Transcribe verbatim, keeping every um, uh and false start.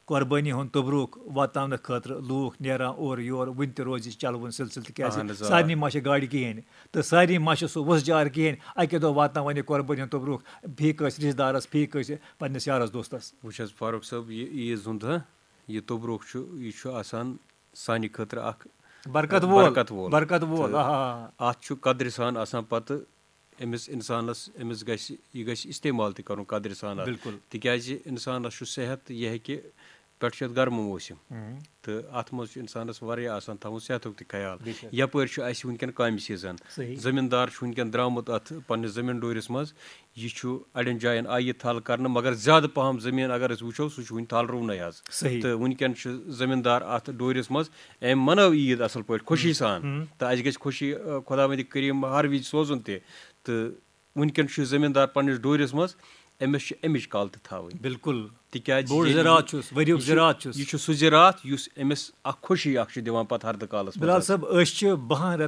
قۄربٲنی ہُنٛد توٚبرُک واتناونہٕ خٲطرٕ لوٗکھ نیران اورٕ یور، وُنہِ تہِ روزِ یہِ چلوُن سلسلہٕ، تِکیٛازِ اہن حظ، آ۔ سارنٕے ما چھِ گاڑِ کِہیٖنۍ تہٕ سارنٕے ما چھِ سُہ وُژھ جار کِہیٖنۍ۔ اَکہِ دۄہ واتناوَن یہِ قۄربٲنی ہُنٛد توٚبرُک فی کٲنٛسہِ رِشتہٕ دارَس، فی کٲنٛسہِ پنٛنِس یارَس دوستَس۔ وٕچھ حظ فاروق صٲب، یہِ عیٖذ ہُنٛد، ہہ، یہِ توٚبرُک چھُ، یہِ چھُ آسان سانہِ خٲطرٕ اَکھ برکت وول۔ برکت وول۔ برکت وول، تہٕ آ۔ اَتھ چھُ قدرِ سان آسان پَتہٕ أمِس اِنسانَس، أمِس گژھِ، یہِ گژھِ استعمال تہِ کَرُن قدرِ سان اَتھ۔ بِلکُل۔ تِکیٛازِ اِنسانَس چھُ صحت، یہِ ہیٚکہِ، پٮ۪ٹھٕ چھُ اَتھ گرمہٕ موسِم۔ ہُم۔ تہٕ اَتھ منٛز چھُ اِنسانَس واریاہ آسان تھاوُن صحتُک تہِ خیال۔ بے شک۔ یَپٲرۍ چھُ اَسہِ وٕنکٮ۪ن کامہِ سیٖزن۔ صحیح۔ زٔمیٖندار چھُ وٕنکٮ۪ن درٛامُت اَتھ پنٛنِس زٔمیٖن ڈوٗرِس منٛز۔ یہِ چھُ اَڑٮ۪ن جایَن آیہِ یہِ تھل کَرنہٕ، مگر زیادٕ پَہَم زٔمیٖن اگر أسۍ وٕچھو، سُہ چھُ وٕنہِ تھل رُونَے حظ۔ صحیح۔ تہٕ وٕنکٮ۪ن چھُ زٔمیٖندار اَتھ ڈوٗرِس منٛز، أمۍ مَنٲو عیٖد اَصٕل پٲٹھۍ خوشی سان۔ ہُم۔ تہٕ اَسہِ گژھِ خوشی، آ، خۄداوندِ کریٖم ہر وِزِ سوزُن تہِ۔ تہٕ وٕنکٮ۪ن چھُ زٔمیٖندار پنٛنِس ڈوٗرِس منٛز، أمِس چھِ اَمِچ کَل تہِ تھاوٕنۍ۔ بِلکُل۔ تِکیٛازِ بوٚڑ ییٚلہِ زِراعت یہِ، چھُس، ؤریُک یہِ چھُ، زِراعت چھُس۔ یہِ چھُ سُہ زِراعت یُس أمِس اَکھ خوشی اَکھ چھُ دِوان پَتہٕ ہردٕ کالَس منٛز بِلال حظ۔ صٲب، أسۍ چھِ بَہَن رٮ۪تَن